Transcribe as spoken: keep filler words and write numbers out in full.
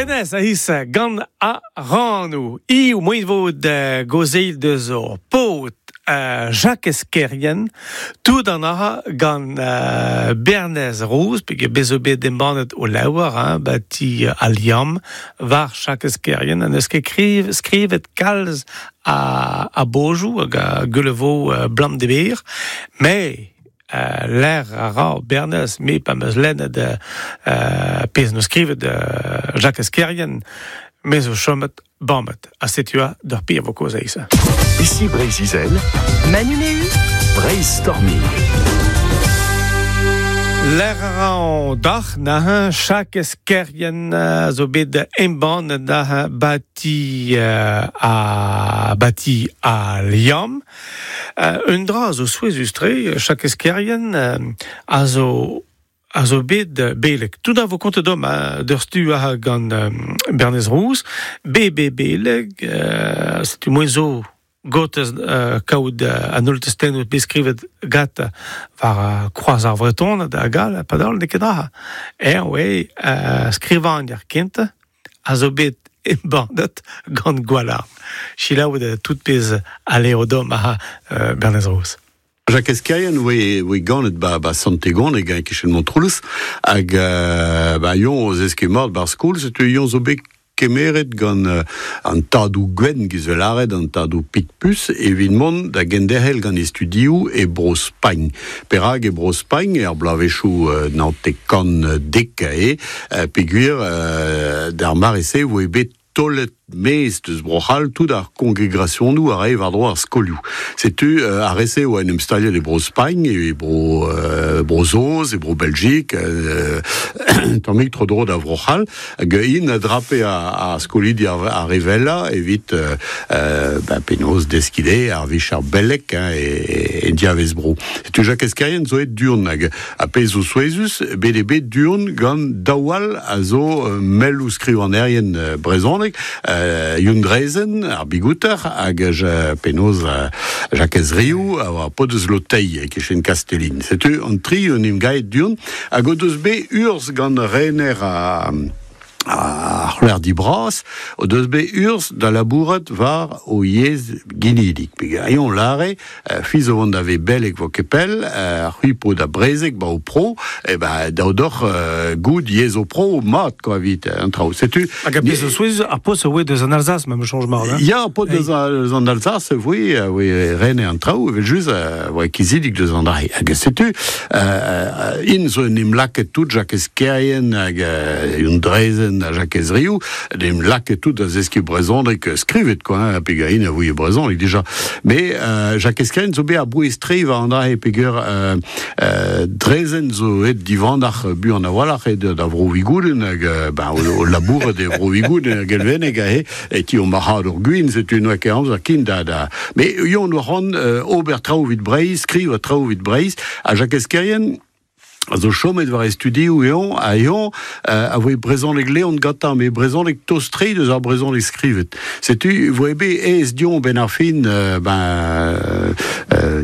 Denez a his gant a rannou. I ou moin vo de gozeil deus ur pot euh, Jacques Kerrien, tout an aha gant euh, Bernez Rouz, pege bezo bet embannet o laouar, hein, ba ti euh, al liamm, war Jacques Kerrien, an eus ket kriv, skrivet kalz a, a bojou hag a gulevo euh, blam de bir, mais euh, l'air a ra Bernez, me pa meus lennet de euh, pezh no skrivet de Jacques Kerrien, me zo chomet bammet. A setu a d'ur pir vo koz eisa. Ici Breizh-Izel, Manu Méhu, Breizhstorming. L'air a ra dac'h na Jacques Kerrien euh, zo bet embannet da bati euh, a bati a liamm. Euh, un dra zo souezhus-tre, Jacques Kerrien euh, a zo a zo bet beleg. Tout a vo kontet dom hein, d'ur stu a gant euh, Bernez Rouz, be be beleg, euh, setu moin zo gotez euh, kaout euh, an holl testennoù bet skrivet gat war euh, kroaz ar Vreton da gal, padal ne ket dra. Er, oe, euh, skrivan ar kent, a zo bet embannet gant Gwalarn. Selaou de tout pezh a leo dom a euh, Bernez Rouz. Jacques Kerrien oe, oe ganet ba, ba Sant-Egon e gañ kichen Montroulez hag euh, ba yon o zeske mort bar skol, setu yon zo bet kemeret gant euh, an tadou gwenn giz laret, an tadou Picpus, evit mont da genderc'hel gant e studioù e bro Spagn. Perag e bro Spagn, er bloavezhioù euh, naontek kant dek e, euh, peogwir euh, d'ar mare-se oe bet tolet mez deus Bro-C'hall tout ar kongregasionoù a rae war-dro ar skolioù. Setu euh, ar re-se oa en em staliet e bro Spagn, e bro, euh, bro Saoz, e bro Belgique, euh, tammig tro-dro da Vro-C'hall, hag int a drape a, a skolidi ar, ar revella evit euh, euh, ba, penaos deskiñ dezhe ar vicher beleg hein, e, e diavez bro. Setu Jacques Kerrien zo et durn hag a pezh zo souezhus, bet eo bet durn gant daou all a zo euh, melloù skrivanerien euh, brezhoneg, euh, Youenn Drezen, ar bigouter, hag je, penaos euh, Jakez Riou, a oa paotr deus Lotei, e kichen Kastellin. Setu an tri en em gaet durn, hag o deus bet urzh gant rener a ar c'hloerdi bras, o deus bet urzh da labourat war o yezh ginidik. Peogwir eñ lare, euh, fiz o vont da ve beleg vo ket pell, euh, c'hwi po da brezeg ba o pro, e ba da odoc'h euh, goud yezh o pro mat, quoi, evit an traoù. Setu... Hag a pezh zo souezhus, ar post a oe deus an Alsace, ma me change mar, hein? Ya, ar paotr deus, deus an Alsace, voe, voe rene an traoù, evel just, euh, voe kizidik deus an dra. Hag setu, euh, in zo en em laket tout Jacques Kerrien hag euh, Youenn Drezen ha Jakez Riou, en em laket tout da zeskiñ brezhoneg skrivet, quoi, hein, peogwir int a ouie brezhoneg déjà. Mais euh, Jakez Kerrien zo bet a-bouez-tre war an dra-se peogwir euh, euh, Drezen zo et divandac'h buan a-walc'h et da vro Vigouden hag euh, ben, o, o labouret e vro Vigouden hag elveneg ahe, e ti o marc'had ur gwin, setu noa ket amzer kin da da. Mais yon oa c'hoant euh, ober traoù evit Breizh, skrivañ traoù evit Breizh, ha Jakez Kerrien a zo chomet war e studioù eon, a eon, euh, a voe brezhoneg leon gantañ, met brezhoneg tost-tre deus ar brezhoneg skrivet. Setu, voe bet aes dion ben ar fin, euh, ben, euh,